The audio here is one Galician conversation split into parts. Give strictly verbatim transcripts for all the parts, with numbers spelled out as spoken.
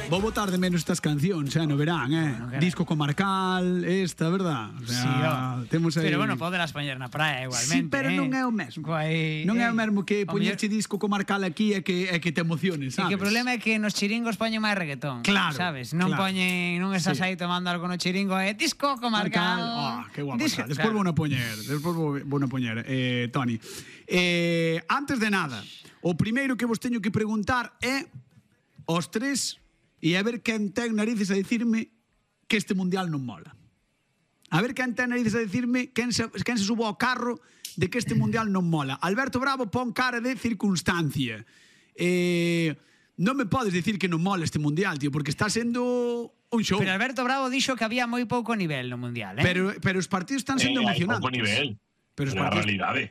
Vou botar de menos estas cancións, eh, no verán, eh. Bueno, disco comarcal, esta, verdad? O sea, sí, oh. Temos aí... Pero bueno, podelas poñer na praia igualmente. Sí, pero eh. non é o mesmo. Guai, non é eh. o mesmo que poñerche disco comarcal aquí e que, é que te emociones, sabes? E que o problema é que nos chiringos poñen máis reggaetón, claro, sabes? Non claro. poñen, non estás sí. aí tomando algo no chiringo, é eh, disco comarcal. Ah, oh, que guapo. Disco, despois claro. vou a poñer, despois vou a poñer, eh, Toni. Eh, antes de nada, o primeiro que vos teño que preguntar é os tres e a ver quen ten narices a dicirme que este mundial non mola. A ver quen ten narices a dicirme quen se, quen se subo ao carro de que este mundial non mola. Alberto Bravo pon cara de circunstancia. Eh, non me podes dicir que non mola este mundial, tío, porque está sendo un show. Pero Alberto Bravo dixo que había moi pouco nivel no mundial, eh? Pero, pero os partidos están sendo eh, emocionantes. Hai pouco nivel. Pero os partidos, a realidade.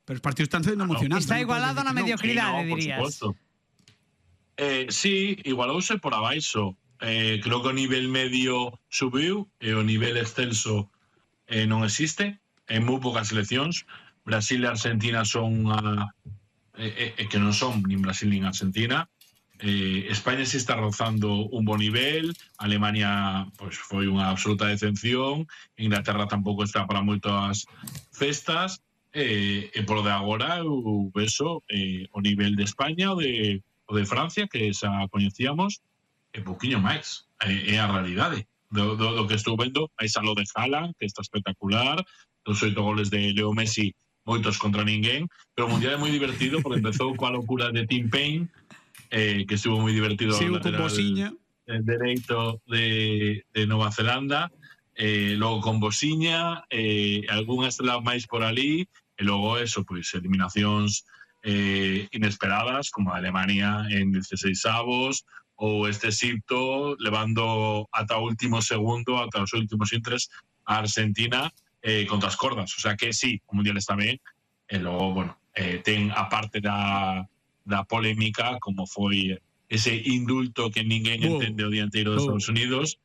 Pero os partidos están sendo emocionantes. Está igualado na mediocridade, no, dirías. Eh, sí, igualouse por abaixo. Eh, creo que o nivel medio subiu e o nivel excelso eh, non existe en moi poucas seleccións. Brasil e Argentina son unha eh, eh, que non son nin Brasil nin Argentina. eh, España sí está rozando un bon nivel. Alemania pues, foi unha absoluta decepción. Inglaterra tampouco está para moitas festas. E, e polo de agora eu vexo eh, o nivel de España ou de o de Francia, que xa coñecíamos, é pouquiño máis. É, é a realidade. Do, do, do que estou vendo, aí xa lo de Haaland, que está espectacular, dos oito goles de Leo Messi, moitos contra ninguén, pero o Mundial é moi divertido, porque empezou coa locura de Tim Payne, eh, que estuvo moi divertido sí, o lateral el dereito de, de Nova Zelanda, eh, logo con Bosiña, eh, algunhas estrela máis por ali, e logo eso, pois, eliminacións Eh, inesperadas, como a Alemania en dieciseisavos ou este Egipto levando ata o último segundo, ata os últimos intres a Argentina eh, contra as cordas. O sea que sí, o Mundial está ben, e logo, bueno, eh, ten a parte da, da polémica, como foi ese indulto que ninguén oh. entende o dianteiro dos oh. Estados Unidos,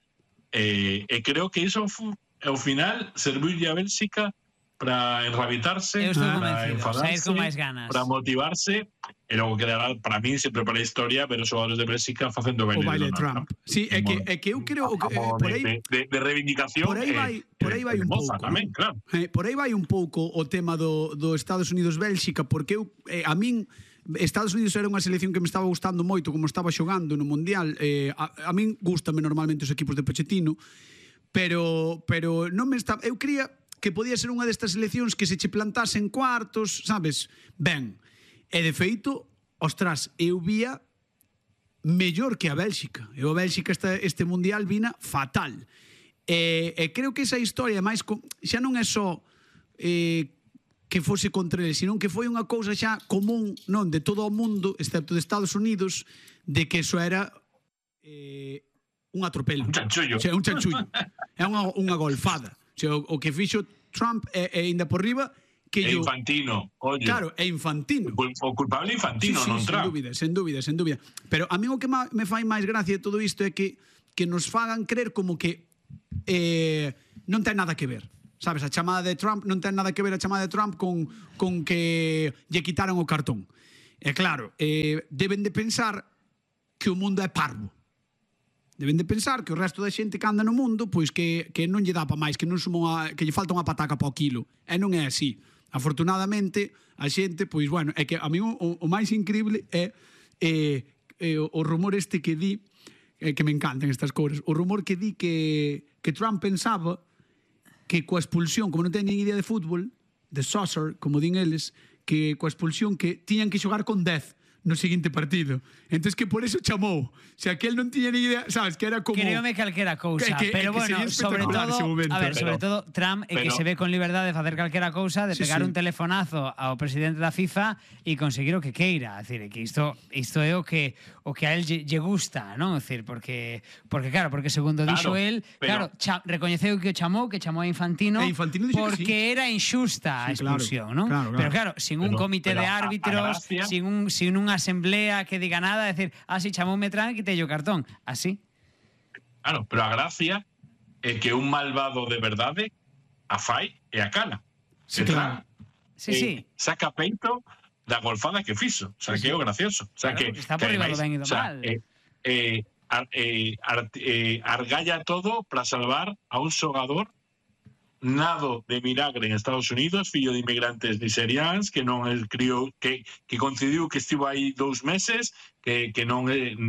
eh, e creo que iso ao final serviu a Bélxica para enrabitarse, para enfadarse, para motivarse, e logo quedará, para mí, sempre para a historia, ver os xogadores de Bélxica facendo baile, o baile de Trump. Trump. Sí, é que, é que eu creo que, eh, por aí, de, de, de reivindicación. Por aí vai, por aí vai un pouco. Tamén, claro. Eh, por aí vai un pouco o tema do, do Estados Unidos-Bélxica, porque eu, eh, a min, Estados Unidos era unha selección que me estaba gustando moito, como estaba xogando no Mundial. Eh, a, a min gustame normalmente os equipos de Pochettino, pero, pero non me está... Eu cría que podía ser unha destas seleccións que se che plantase en cuartos, sabes? Ben, e de feito, ostras, eu vía mellor que a Bélxica. E a Bélxica este, este mundial vina fatal. E, e creo que esa historia máis xa non é só eh, que fose contra ele, senón que foi unha cousa xa común, non, de todo o mundo, excepto de Estados Unidos, de que eso era eh, un atropelo. Un chanchullo. O sea, un chanchullo. É unha, unha golfada. O, sea, o, o que fixo Trump é, é ainda por riba que é yo... Infantino, oye. Claro, é Infantino. O culpable Infantino, sí, sí, non sen Trump. dúbida, sen dúbida, sen dúbida. Pero a mí o que me fai máis gracia de todo isto é que que nos fagan creer como que eh, non ten nada que ver. Sabes, a chamada de Trump non ten nada que ver a chamada de Trump con, con que lle quitaron o cartón. E claro, eh, deben de pensar que o mundo é parvo. Deben de pensar que o resto da xente que anda no mundo pois que, que non lle dá pa máis, que non sumo a, que lle falta unha pataca pa o quilo. E non é así. Afortunadamente, a xente, pois bueno, é que a mí o, o máis increíble é eh, eh, o rumor este que di, eh, que me encantan estas cousas, o rumor que di que, que Trump pensaba que coa expulsión, como non ten nin idea de fútbol, de soccer, como din eles, que coa expulsión que tiñan que xogar con dez no seguinte partido. Entonces que por eso chamou. O sea, que él non tiña ni idea, sabes, que era como... Creome calquera cousa, que, que, pero que bueno, sobre todo, a ver, sobre pero, todo Trump é que se ve con liberdade de facer calquera cousa, de sí, pegar sí. un telefonazo ao presidente da FIFA e conseguir o que queira, é dicir, que isto isto é o que o que a él lle, lle gusta, non? É dicir, porque porque claro, porque segundo claro, dixo él, pero, claro, cha, recoñeceu que o chamou, que chamou a Infantino, Infantino porque sí. era injusta a sí, expulsión, claro, non? Claro, claro. Pero claro, sin un pero, comité pero de árbitros, gracia... sin un sin unha asamblea que diga nada, é dicir, así chamoume Trump e quitei o cartón, así. Claro, pero a gracia é que un malvado de verdade a fai e a cala. Sí, claro. Sí, sí. Saca peito da golfada que fixo. O sea, sí, que é o gracioso. O sea, claro, que está por riba do ben e do mal. O sea, eh, eh, eh, eh, argalla todo para salvar a un xogador nado de milagre en Estados Unidos, fillo de inmigrantes nigerianos, que non el criou, que, que coincidiu que estivo aí dous meses, que, que non,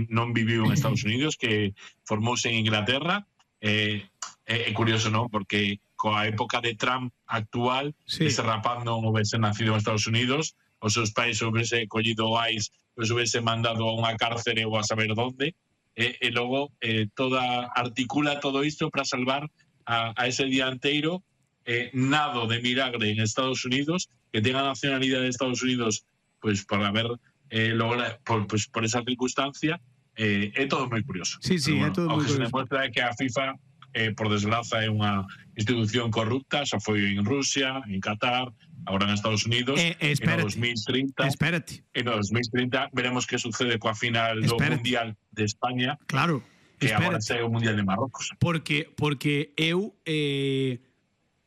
non viviu en Estados Unidos, que formouse en Inglaterra. É eh, eh, curioso, non? Porque coa época de Trump actual, sí. ese rapaz non houvese nacido en Estados Unidos, os seus pais houvese collido o ICE, os houvese mandado a unha cárcere ou a saber donde, e, e logo eh, toda articula todo isto para salvar a, a ese dianteiro eh, nado de milagre en Estados Unidos, que tenga nacionalidade de Estados Unidos, pues para ver eh, logra, por, pues, por esa circunstancia, eh, é todo moi curioso. Sí, sí, bueno, é todo moi curioso. O que se demuestra é que a FIFA, eh, por desgraza, é unha institución corrupta, xa foi en Rusia, en Qatar, agora en Estados Unidos, eh, eh, en dos mil trinta. Espérate. En dos mil trinta veremos que sucede coa final do espérate. Mundial de España. Claro. Que espérate. Agora sai o Mundial de Marrocos. Porque porque eu eh,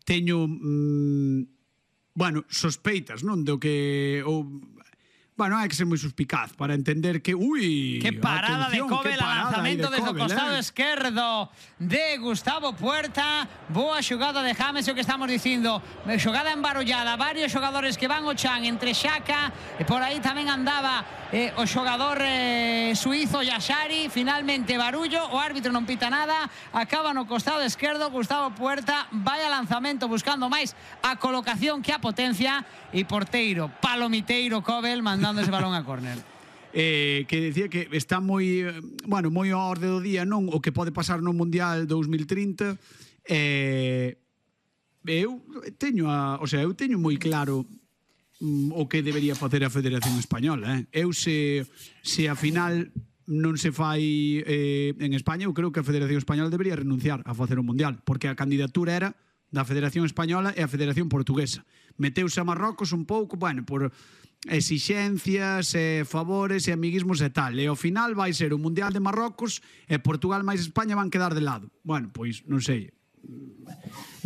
teño mm, bueno, sospeitas, non, do que o bueno, hai que ser moi suspicaz para entender que, ui, que parada de Kobel, lanzamento desde o costado eh? esquerdo de Gustavo Puerta, boa xogada de James, o que estamos dicindo, xogada embarullada, varios xogadores que van ao chan entre Xhaka, e por aí tamén andaba eh, o xogador eh, suizo Yashari, finalmente barullo, o árbitro non pita nada, acaba no costado esquerdo, Gustavo Puerta, vai a lanzamento buscando máis a colocación que a potencia, e porteiro, palomiteiro Kobel, mandando ese balón a córner. Eh, que decía que está moi, bueno, moi a orde do día, non, o que pode pasar no Mundial dos mil trinta. Eh, eu teño a, o sea, eu teño moi claro mm, o que debería facer a Federación Española, eh. Eu se se a final non se fai eh, en España, eu creo que a Federación Española debería renunciar a facer o Mundial, porque a candidatura era da Federación Española e a Federación Portuguesa. Meteuse a Marrocos un pouco, bueno, por exixencias, e favores e amiguismos e tal. E ao final vai ser o Mundial de Marrocos e Portugal máis España van quedar de lado. Bueno, pois, non sei.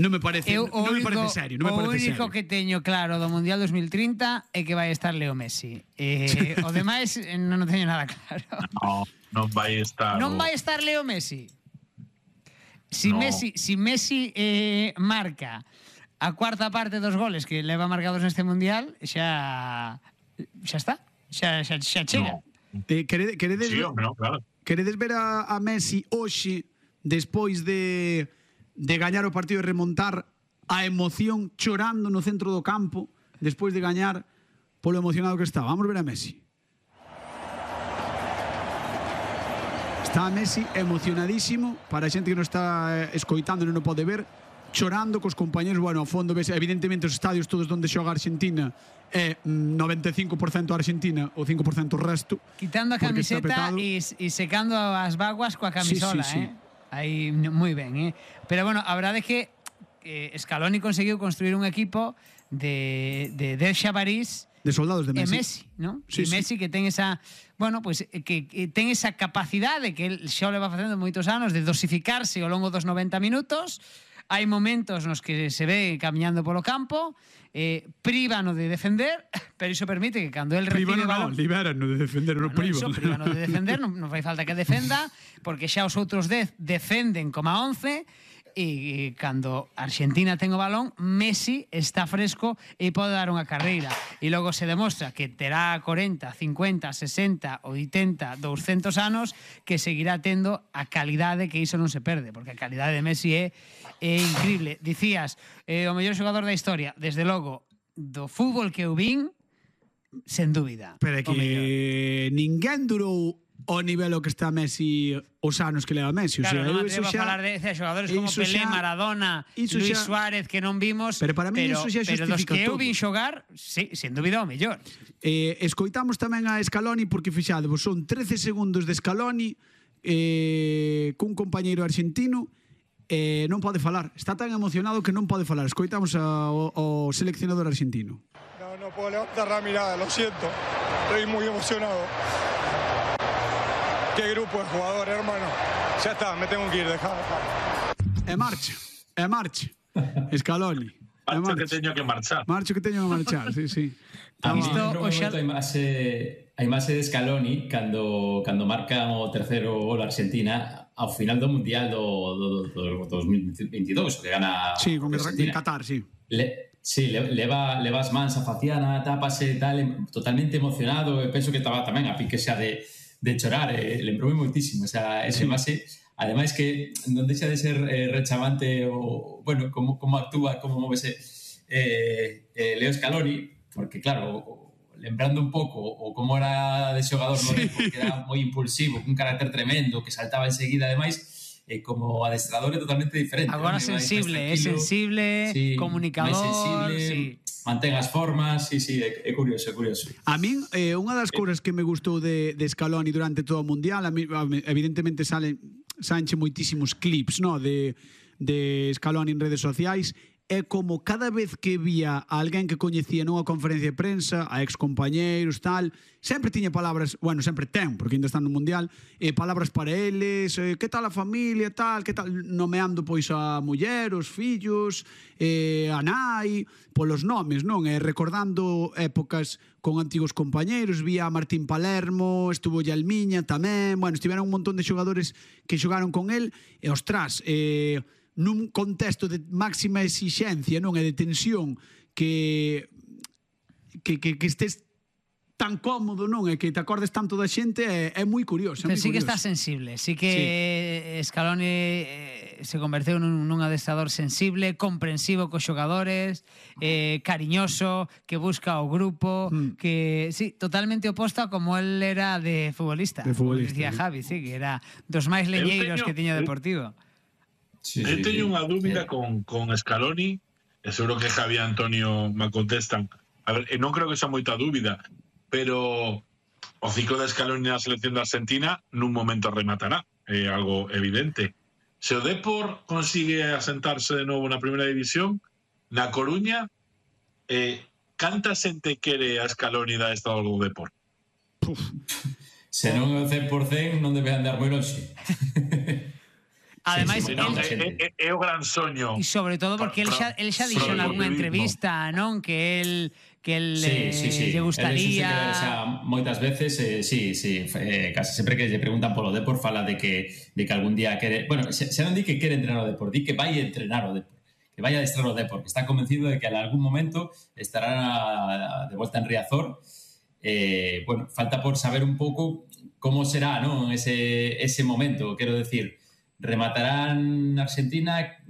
Non me parece, eu, non me parece serio, non me parece serio. O único que teño claro do Mundial dos mil trinta é que vai estar Leo Messi. Eh, o demais non teño nada claro. No, non vai estar. Non vai estar Leo Messi. Si no. Messi, si Messi eh, marca a cuarta parte dos goles que leva marcados neste Mundial, xa xa está, xa, xa, xa chega. No. Eh, queredes, queredes, sí, no, claro. Queredes ver a, a Messi hoxe, despois de, de gañar o partido e remontar a emoción chorando no centro do campo, despois de gañar polo emocionado que está? Vamos ver a Messi. Está Messi emocionadísimo, para a xente que non está escoitando non o pode ver, chorando cos compañeros, bueno, ao fondo ves, evidentemente os estadios todos onde xoga Argentina é noventa e cinco por cento Argentina, o cinco por cento o resto. Quitando a camiseta e, e secando as vaguas coa camisola, sí, sí, sí. eh? Aí, moi ben, eh? Pero bueno, a verdade é que eh, Scaloni conseguiu construir un equipo de, de Delxa París de soldados de Messi. E Messi, ¿no? Sí, e Messi sí. que ten esa, bueno, pues que, que ten esa capacidade que el xa le va facendo moitos anos de dosificarse ao longo dos noventa minutos. Hai momentos nos que se ve camiñando polo campo, eh, príbano de defender, pero iso permite que cando el recibe príbano balón... No, libérano de defender, bueno, non privo. Iso, príbano de defender, non, non fai falta que defenda, porque xa os outros dez defenden como a once, e cando Argentina ten o balón, Messi está fresco e pode dar unha carreira, e logo se demostra que terá cuarenta, cincuenta, sesenta, oitenta, doscientos anos, que seguirá tendo a calidade, que iso non se perde, porque a calidade de Messi é, é increíble. Dicías, eh, o mellor xogador da historia, desde logo do fútbol que eu vin, sen dúbida. Pero é que ninguén durou o nivel o que está Messi os anos que leva Messi. Claro, o sea, non atrevo a falar de, de xogadores como Pelé, xa, Maradona, Luis xa, Suárez, que non vimos, pero para mí pero, iso xa pero dos que todo. eu vin xogar, sí, sen dúbida o mellor. Eh, escoitamos tamén a Scaloni, porque fixadevos, son trece segundos de Scaloni eh, cun compañeiro argentino, eh, non pode falar. Está tan emocionado que non pode falar. Escoitamos ao, ao seleccionador argentino. No, no puedo levantar la mirada, lo siento. Estoy muy emocionado. Qué grupo de jugadores, hermano. Ya está, me tengo que ir, dejá, dejá. E marcha, e marcha. Scaloni. Marcho que teño que marchar. Marcho que teño que marchar, sí, sí. A mí lembro moito a imaxe, a imaxe de Scaloni cando, cando marca o terceiro gol Argentina ao final do Mundial do, do, do, do dos mil veintidós, que gana sí, con Argentina. Qatar, sí. Le, sí, le, leva, leva as mans a faciana, tápase tal, totalmente emocionado, e penso que estaba tamén a pique xa de, de chorar, eh, lembrou moitísimo esa, esa sí. imaxe. Ademais que non deixa de ser eh, rechamante o, bueno, como, como actúa, como movese eh, eh, Leo Scaloni, porque claro, lembrando un pouco o como era de xogador, sí. No, porque era moi impulsivo, un carácter tremendo, que saltaba enseguida, ademais, eh, como adestrador é totalmente diferente. Agora ¿no? sensible, é sensible, sí, comunicador, sensible, sí. Mantén as formas, sí, sí, é, é curioso, é curioso. A min, eh, unha das cousas que me gustou de, de Scaloni durante todo o Mundial, a mí, evidentemente salen sanche moitísimos clips, no, de, de Scaloni en redes sociais, é como cada vez que vía a alguén que coñecía nunha conferencia de prensa, a excompañeiros, tal, sempre tiña palabras, bueno, sempre ten, porque ainda están no Mundial, eh, palabras para eles, eh, que tal a familia, tal, que tal, nomeando pois a muller, os fillos, eh, a nai, polos nomes, non? E recordando épocas con antigos compañeiros, vía a Martín Palermo, estuvo Yalmiña tamén, bueno, estiveron un montón de xogadores que xogaron con el, e ostras, eh, nun contexto de máxima exixencia, non, e de tensión, que que, que, que estés tan cómodo, non, e que te acordes tanto da xente, é, é moi curioso. Pero sí curioso. Que está sensible, sí que sí. Scaloni eh, se converteu nun, nun adestrador sensible, comprensivo cos xogadores, eh, cariñoso, que busca o grupo, mm. que, sí, totalmente oposto a como él era de futbolista. De futbolista. Decía Javi, sí, que era dos máis leñeiros teño, que tiña Deportivo. Sí, eu sí, teño sí. unha dúbida con, con Scaloni, e seguro que Javi e Antonio me contestan. A ver, non creo que sea moita dúbida, pero o ciclo de Scaloni na selección de Argentina nun momento rematará, é algo evidente. Se o Depor consigue asentarse de novo na primeira división, na Coruña, eh, canta xente quere a Scaloni da estado do Depor? Puf. Se non é o cen por cen non debe andar moi longe. Ademais, sí, sí, no, é, é, é o gran soño. E sobre todo porque el xa, el xa dixo en algunha entrevista, non? Que el que el sí, sí, sí. lle gustaría... El, xa, moitas veces, eh, sí, sí, eh, casi sempre que lle preguntan polo Depor fala de que, de que algún día quere... Bueno, xa, xa non di que quere entrenar o Depor, di que vai a entrenar o Depor, que vai a adestrar o Depor, que está convencido de que en algún momento estará de volta en Riazor. Eh, bueno, falta por saber un pouco como será, non? Ese, ese momento, quero decir... Rematarán Argentina,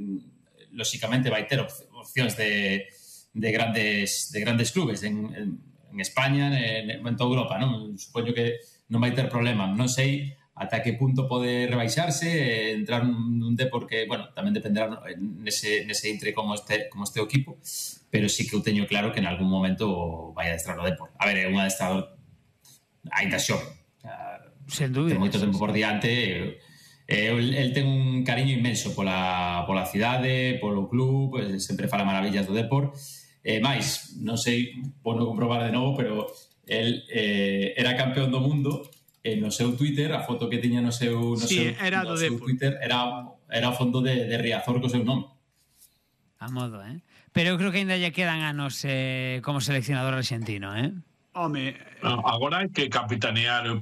lóxicamente vai ter opcións de, de grandes de grandes clubes en, en, en España, en, en toda Europa, non? Supoño que non vai ter problema. Non sei ata que punto pode rebaixarse, entrar nun Depor que, bueno, tamén dependerá nese, nese intre como este, como este equipo, pero sí que eu teño claro que en algún momento vai a adestrar o Depor. A ver, é un adestrador ainda xove. Sen dúbida. Ten moito tempo por diante. Eh, el, el ten un cariño inmenso pola, pola cidade, polo club, pues, sempre fala maravillas do Depor. Eh, máis, non sei, por non comprobar de novo, pero el eh, era campeón do mundo e no seu Twitter, a foto que tiña no seu, no sí, seu, era no do seu Twitter era, era o fondo de, de Riazor co seu nome. A modo, eh? Pero eu creo que ainda lle quedan anos eh, como seleccionador argentino, eh? Home... No, agora hai que capitanear o